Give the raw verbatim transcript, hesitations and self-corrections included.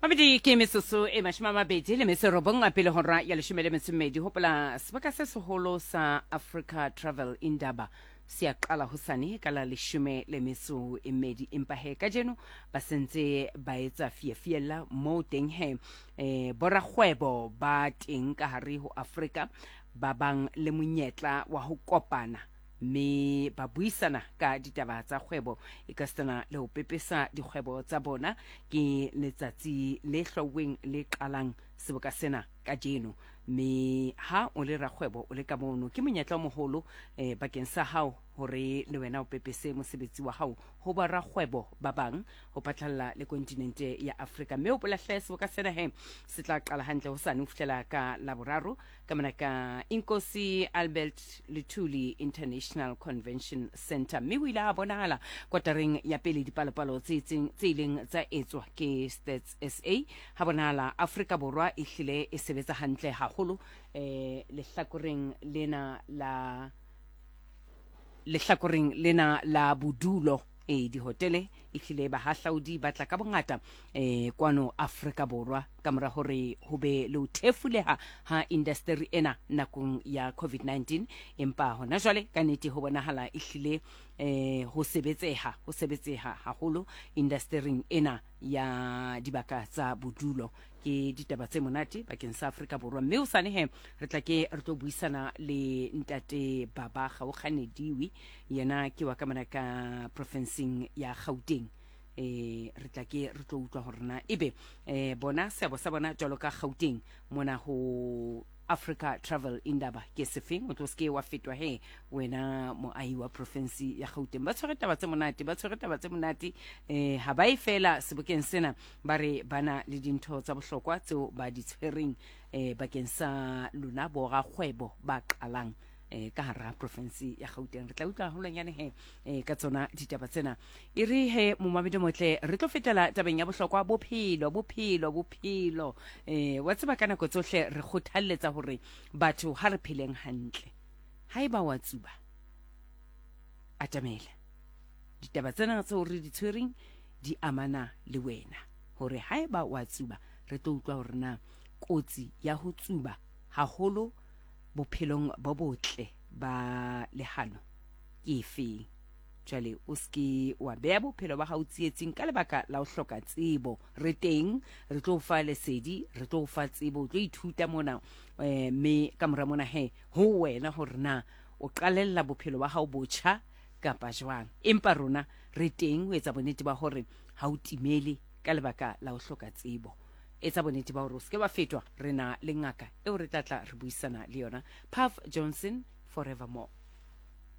Mamedi, ke metsotso e mashome a mabedi le metso e robong a pele hora ya leshome le metso e mmedi. Hopola sebaka se seholo sa Africa Travel Indaba se a qala hosane ka la leshome le metso e mmedi, empa he kajeno ba sentse ba etsa fiafiella moo teng he eh, borakgwebo ba teng ka hare ho Afrika ba bang le monyetla wa ho kopana mme ba buisana ka ditaba tsa kgwebo e ka sitana le ho pepesa dikgwebo tsa bona. Ke letsatsi le hlwauweng le qalang seboka sena kajeno, mme ha o le rakgwebo o le ka mono, ke monyetla o moholo eh, bakeng sa hao hore le wena o pepese mosebetsi wa hao ho barakgwebo ba bang ho phatlalla le kontinente ya Afrika. Mme o polahle seboka sena he se tla qala hantle hosane ho fihlela ka Laboraro ka mona ka Inkosi Albert Luthuli International Convention Center. Mme ho ile ha bonahala kotareng ya pele dipalopalo tse itseng tse ileng tsa etswa ke Stats S A, ha bonahala Afrika Borwa e hlile e sebetsa hantle haholo eh lehlakoreng lena la lehlakoreng lena la bodulo. E dihotele e hlile bahahlaudi ba tla ka bongata eh kwano Afrika Borwa ka mora hore ho be le ho thefuleha ha industry ena nakong ya COVID nineteen, empa hona jwale ka nnete ho bonahala e hlile eh ho sebetseha, ho sebetseha haholo industering ena ya dibaka tsa bodulo. Ke ditaba tse monate bakeng sa Afrika Borwa. Mme hosane he re tla ke re tlo buisana le ntate Baba Gaokganediwe, yena ke wa ka mona ka profenseng ya Gauteng. Eh re tla ke re tlo utlwa hore na ebe eh bona seabo sa bona jwalo ka Gauteng mona ho Africa Travel Indaba ke sefeng. O tlo seke wa fetwa he wena moahi wa province ya Gauteng. Ba tshwere taba tse monate, ba tshwere taba tse monate eh ha ba e fela sebokeng sena, ba re bana le dintho tsa bohlokwa tseo ba di tshwereng eh bakeng sa lona borakgwebo ba qalang eh ka hara province ya Gauteng. Re tla utlwa haholwanyane he eh ka tsona ditaba tsena. E re he momamedi motle, re tlo fetela tabeng ya bohlokwa, bophelo, bophelo, bophelo. Eh wa tseba ka nako tsohle re kgothalletsa hore batho ha re pheleng hantle. Haeba wa tsuba, atamela. Ditaba tsena tseo re di tshwereng di amana le wena, hore haeba wa tsuba re tlo utlwa hore na kotsi ya ho tsuba haholo bophelong bo botle ba lehano ke efeng. Jwale o ske wa beha bophelo ba hao tsietsing ka lebaka la ho hloka tsebo. Re teng, re tlo fa lesedi, re tlo fa tsebo, o tlo ithuta mona eh mme ka mora mona he ho wena hore na o qalella bophelo ba hao botjha kapa jwang. Empa rona re teng ho etsa bonnete ba hore ha o timele ka lebaka la ho hloka tsebo. Etsa bonnete ba hore o seke wa fetwa. Re na le ngaka eo re tla tla re buisana le yona, Puff Johnson forevermore.